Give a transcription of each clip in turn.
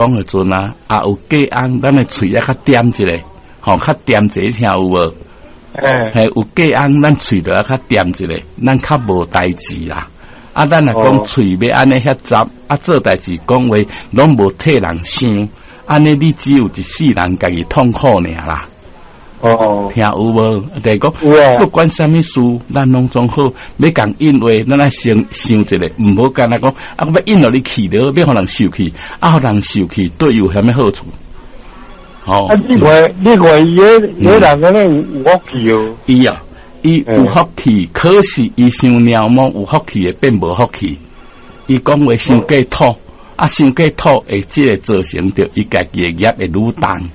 講的陣啊，也有隔甕，咱的喙也較恬一下，吼，較恬一下，聽有無？欸。嘿，有隔甕，咱喙就愛較恬一下，咱較無代誌啦。啊，咱若講喙欲按呢遐雜，啊，做代誌講話攏無替人想，按呢你只有一世人家己痛苦爾啦。聽有無？就是講，不管啥物事，咱攏總好，欲共應話，咱愛先想一下，毋好干焦講，啊，我欲應予你氣著，欲予人受氣，啊，予人受氣，對伊有啥物好處？吼。啊，你看，你看伊彼彼人敢若有福氣哦。伊啊，伊有福氣，可是伊傷貓毛，有福氣會變無福氣。伊講話傷過土，啊，傷過土會這個造成著伊家己的業會愈重。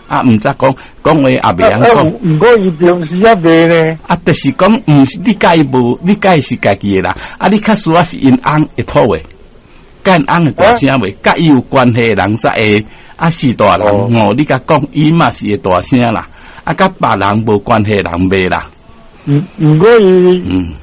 啊，毋知講講話也袂曉講。毋過伊平時也袂呢。啊，就是講，毋是你佮伊無，你佮伊是家己的啦。啊，你較輸啊是𪜶翁會吐話，佮𪜶翁會大聲話，佮伊有關係的人才會。啊，是大人哦，你共講，伊嘛是會大聲啦。啊，佮別人無關係的人袂啦。毋過伊，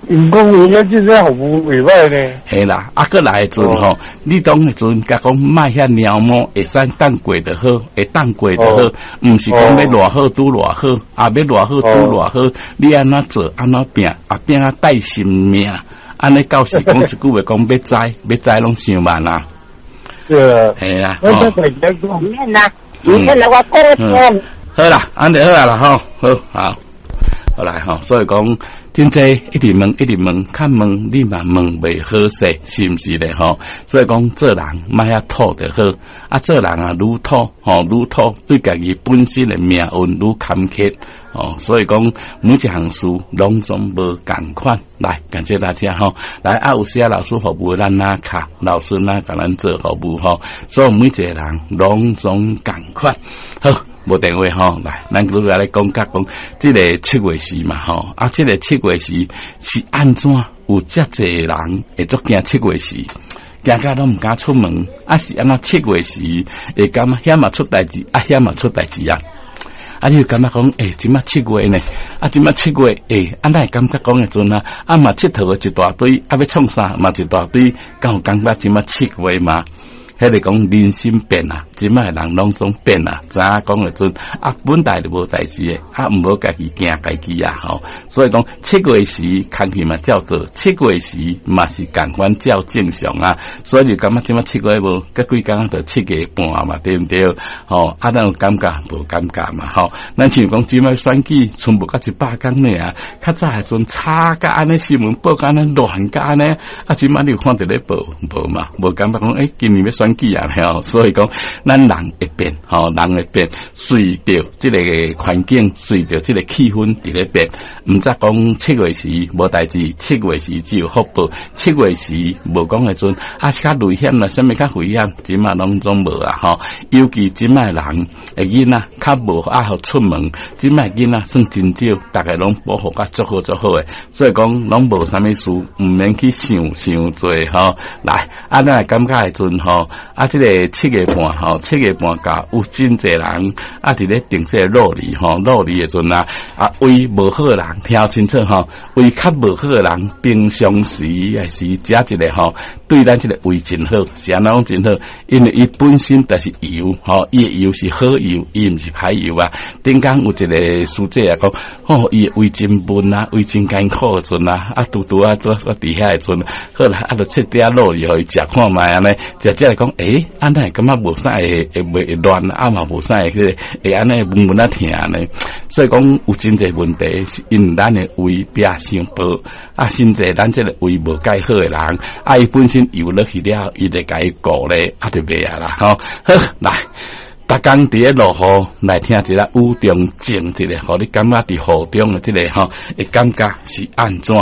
毋過伊遐這個服務袂歹呢。嘿啦，啊，閣來的陣吼，你當的陣共講莫遐貓毛，會使當過就好，會當過就好，毋是講欲偌好拄偌好，啊，欲偌好拄偌好，你按怎做按怎拚，啊拚啊帶性命，按呢到時講一句話講欲知，欲知攏傷慢啦。對啊。嘿啦。我想大家講。免啦，免啦，我講聽。好啦，按呢好啦吼，好，好，好來吼，所以講。真濟一直問，一直問，較問你嘛問袂好勢，是毋是咧吼？所以講做人莫遐土就好，啊做人啊愈土吼愈土，對家己本身的命運愈坎坷哦。所以講每一項事攏總無仝款。來，感謝大家吼。來啊，有時啊老師服務咱哪卡，老師哪共咱做服務吼。所以每一個人攏總仝款。好，無電話吼，來，咱拄來講甲講，這个七月時嘛吼，啊，這个七月時是按怎有遮濟人會足驚七月時，驚甲攏毋敢出門，啊是按怎七月時會感覺遐嘛出代誌，啊遐嘛出代誌啊？啊，你就感覺講，欸，這馬七月呢？啊，這馬七月，欸，啊，哪會感覺講的陣啊？啊嘛，𨑨迌的一大堆，啊，欲創啥嘛一大堆，敢有感覺這馬七月嘛？彼個講人心變啊，這馬的人攏總變啊，知影講的陣啊，本來就無代誌的，啊，毋好家己驚家己啊，吼。所以講七月時空氣嘛照做，七月時嘛是仝款照正常啊。所以就感覺這馬七月無，閣幾工就七月半嘛，對毋對？吼，啊，咱有感覺無感覺嘛？吼，咱像講這馬選舉，賰無到一百工爾，較早的陣吵甲按呢，新聞報甲按呢亂甲按呢，啊，這馬你有看著咧報無嘛？無感覺講，欸，今年欲選舉啊，吼，所以講，咱人會變，吼，人會變，隨著這個環境，隨著這個氣氛佇咧變。毋則講七月時無代誌，七月時只有福報，七月時無講的陣，啊是較危險啦，啥物較危險，這馬攏總無啊，吼。尤其這馬人的囡仔較無愛予出門，這馬囡仔算真少，逐家攏保護甲足好足好的，所以講攏無啥物事，毋免去想傷濟吼。來，啊，咱會感覺的陣吼，啊，這个七月半吼，七月半到有真濟人啊，佇咧訂這個路里吼，路里的陣啊，啊，為無好的人聽清楚吼，為較無好的人，平常時也是食一个吼，對咱這个胃真好，是按怎講真好？因為伊本身就是油吼，伊的油是好油，伊毋是歹油啊。頂工有一个師姐啊講，吼，伊的胃真悶啊，胃真艱苦的陣啊，啊，拄拄啊，拄我佇遐的陣，好啦，啊，就切點仔酪梨予伊食看覓按呢，食食來講，欸，按怎會感覺無啥會會袂會亂，啊嘛無啥會彼个會按呢悶悶啊疼呢？所以講有真濟問題，是因為咱的胃壁傷薄，啊，甚至咱這个胃無蓋好的人，啊，伊本身油落去了，伊就共伊顧咧，啊，就袂啊啦，吼，好來。逐工佇咧落雨，來聽一下雨中靜一下，予你感覺佇雨中的這个吼，會感覺是按怎？